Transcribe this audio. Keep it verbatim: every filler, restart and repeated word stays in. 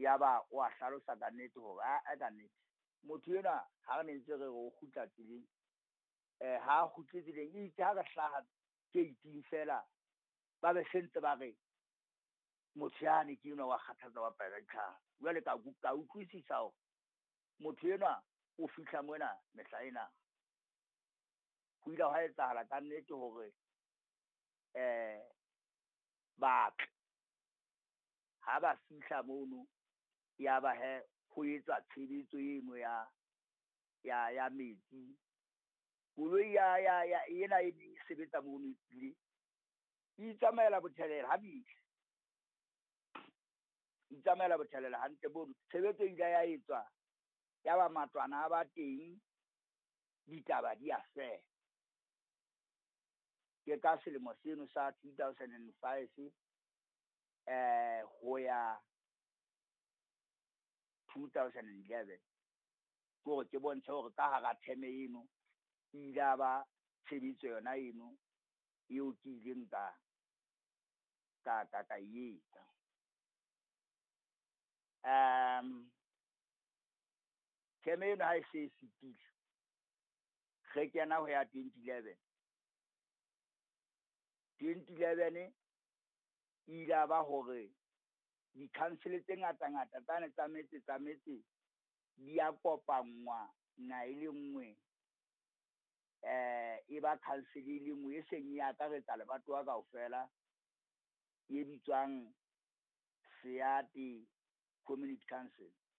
Yaba o a hlalosa ka nnete hore aa ka nnete motho enwa ha re ne ntse re re o kgutla tseleng, eh ha kgutle tseleng itse ha re hlaha gate-ing fela, ba be se ntse ba re motho yane ke enwa wa kgathatsa wa pela ditlhare. Jwale ka ka utlwisisa hore motho enwa o fihla mona mehla ena. Ho ile hwa etsahala kannete hore ba tle, ha ba fihla mono, ya ba hee ho etswa tshebetso eno ya ya ya metsi. Koloi ya ya ya ena e neng e sebetsa mono e itsamaela botjhabela ha bile. Itsamaela botjhabela hantle mono. Tshebetso e ile ya etswa, ya ba matlwana a ba teng, ditaba di a fela. Ke ka selemo seno sa two thousand and five, eh ho ya two thousand and eleven. Ke hore ke bontshe hore ka hara term eno, e ile ya ba tshebetso yona eno, eo ke ileng ka ka ka ka etsa. Um term eno ha e se e fetile, re kena ho ya twenty eleven. twenty eleven e ile ba hore di-council tse ngata ngata tsane tsa metse tsa metse di a kopanngwa na e le nngwe, eh e ba council e le nngwe e seng e akaretsa lebatowa kaofela, e bitswang Seate Community Council.